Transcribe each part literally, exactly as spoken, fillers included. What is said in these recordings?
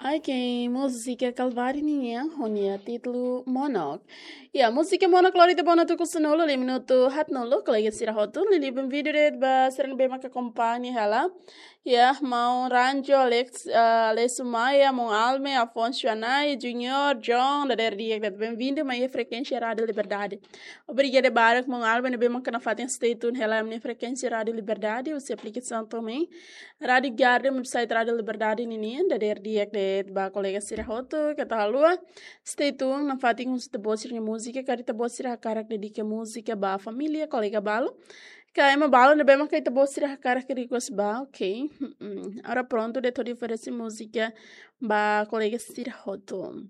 Ok, múzika Kalvari nian ho nia títulu Monok. Ya, múzika Monok lori ita ba ona tuku sanulu, liu minutu haatnulu, kolega sira hotu, liuliu benvindu de'it ba sira ne'ebé maka akompaña hela. Ya, maun Ranjo, Alex, ah, Alessio Maia, maun Alme, Afonso Anai, Junior, John, dadeer di'ak de'it, benvindu mai frekuénsia Rádiu Liberdade. Obrigada barak maun Alme ne'ebé maka nafatin stay tune hela ami-nia frekuénsia Rádiu Liberdade, husi aplikasaun to'o mai Rádiu Garden, website Rádiu Liberdade ninian, dadeer di'ak de'it ba kolega sira hotu, keta haluha stay tune, nafatin husu ita-boot sira-nia múzika, karik ita-boot sira hakarak dedika múzika ba família, kolega balu, ka ema balu ne'ebé maka ita-boot sira hakarak request ba, ok. Mm-mm. Agora prontu de'it hodi oferese múzika ba kolega sira hotu.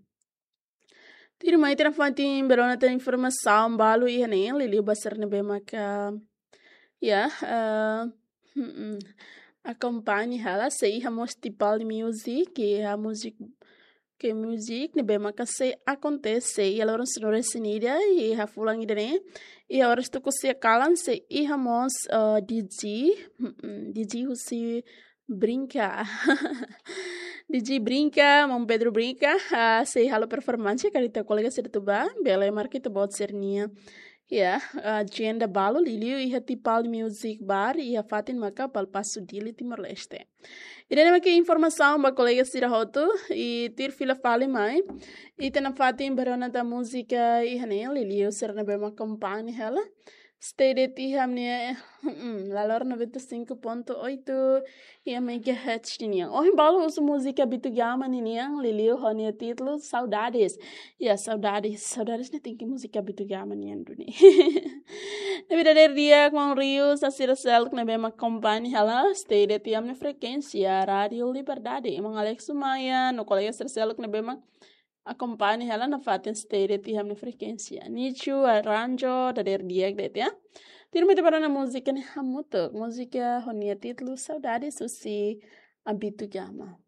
Tuirmai ita nafatin bele rona tan informasaun balu iha ne'e, liuliu ba sira ne'ebé maka, ya, eh, mm-mm, akompaña hela, sei iha mós Tipal Music, iha múzika, ke múzika ne'ebé maka sei akontese iha loron sanulu-resin-ida, iha fulan ida-ne'e, iha oras tuku sia kalan, sei iha mós, eh, D J, mm-mm, D J husi Brinka. D J Brinka, maun Pedro Brinka, ah, sei halo performance, karik ita kolega sira atu bá, bele marka ita-boot sira-nia, ya, agenda balu, liuliu iha Tipal Music Bar, iha fatin maka Palapasu, Dili, Timor-Leste. Ida-ne'e maka informasaun ba kolega sira hotu, i tuir fila fali mai ita nafatin bele rona tan múzika iha ne'e, liuliu sira ne'ebé maka akompaña hela. Stay de'it iha ami-nia, mm, La Lor noventa e cinco ponto oito, iha megahertz ninian. Ohin balu husu múzika Bitu Gama ninian, liuliu ho nia títulu Saudades. Ya, Saudades, Saudades ne'e tenke múzika Bitu Gama nian duni. Ne'ebé dadeer di'ak maun Riu, sira seluk ne'ebé maka akompaña hela, stay de'it iha ami-nia frekuénsia Rádiu Liberdade. Maun Alex Maia, no kolega sira seluk ne'ebé maka akompaña hela nafatin stay de'it iha ami-nia frekuénsia. Nicho, Aranjo, dadeer di'ak de'it ya. Tuirmai ita bá rona múzika ne'e hamutuk, múzika ho nia títulu Saudades husi Bitu Gama.